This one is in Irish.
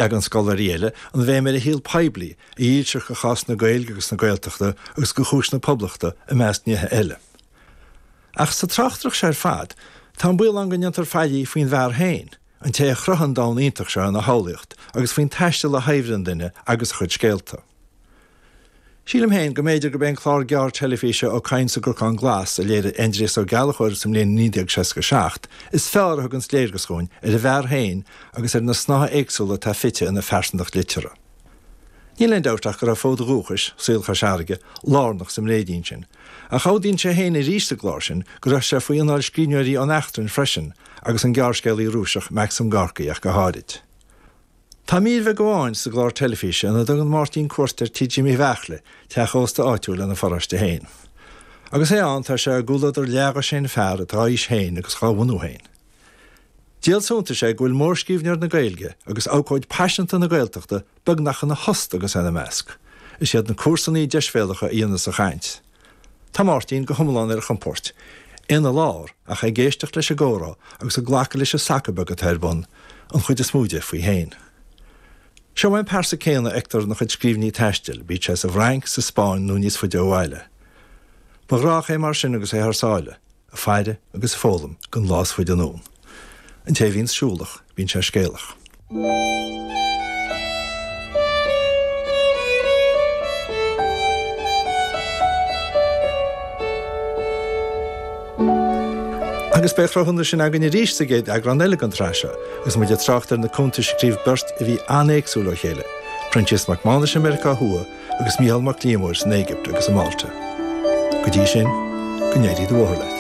Leagann scoláirí eile an bhéim ar a shaol poiblí, a dhílseacht do chás na Gaeilge agus na Gaeltachta agus do chúis na Poblachta, i measc nithe eile. Ach sa tráchtaireacht seo ar fad, tá an baol ann go ndéantar faillí faoin bhfear féin, an té a chruthaigh an domhan iontach seo ina shamhlaíocht, agus faoin taisteal a shaibhrigh an duine agus a chuid scéalta. Sílim féin go mb'fhéidir gurb é an clár gearr teilifíse Ó Cadhain sa gCnocán Glas a léirigh Aindrias Ó Gallchóir sa mbliain 1967 is fearr a thuganns léargas dhúinn ar an bhfear féin agus ar na snáithe éagsúla atá fite ina phearsantacht liteartha. Níl aon dabht ach go raibh fód a dhúchais, saol Chois Fharraige, lárnach sa mbréidín sin. Ach admhaíonn sé féin arís sa gclár sin go raibh sé faoi anáil scríbhneoirí ón eachtrainn freisin agus an gearrscéalaí Rúiseach Maxim Gorky ach go háirid. Tá mír bheag amháin sa gclár teilifíse ina dtugann Máirtín cuairt ar Tigh Jimí Bheairtle, teach ósta áitiúil ina pharóiste féin. Agus é ann, tá sé i gcomhluadar leathdhosaen fear atá a aois féin agus dhá bhunú féin. Díol suntais é go bhfuil mórscríbhneoir na Gaeilge agus abhcóid paiseanta na Gaeltachta beagnach ina thost agus é ina measc. Is iad na comharsanaí deisbhéalacha a dhéanas an chaint. Tá Máirtín go hiomlán ar a chompóirt, é ina lár ach é ag éisteacht leis an gcomhrá agus ag glacadh leis an sacar beag atá ar bun, an chuid is mó de faoi fhéin. Seo é an pearsa céanna a fheictear ina chuid scríbhinní taistil, bíodh sé sa bhFrainc, sa Spáinn nó níos faide ó bhaile. Ba ghnách é mar sin agus é thar sáile. Ag faire agus ag foghlaim don lá is faide anonn. An té a bhíonns siúlach, bíonn sé scéalach. Agus beidh cruthúnas sin againn arís sa gcéad eagrán eile den tsraith seo, agus muid ag trácht ar na cuntais a scríobh beirt a bhí an-éagsúil ó chéile, Proinsias Mac Mánais i Meiriceá Thuaidh agus Mícheál Mac Liammóir san Éigipt agus i Málta. Go dtí sin, go n-éirí do bhóthar leat.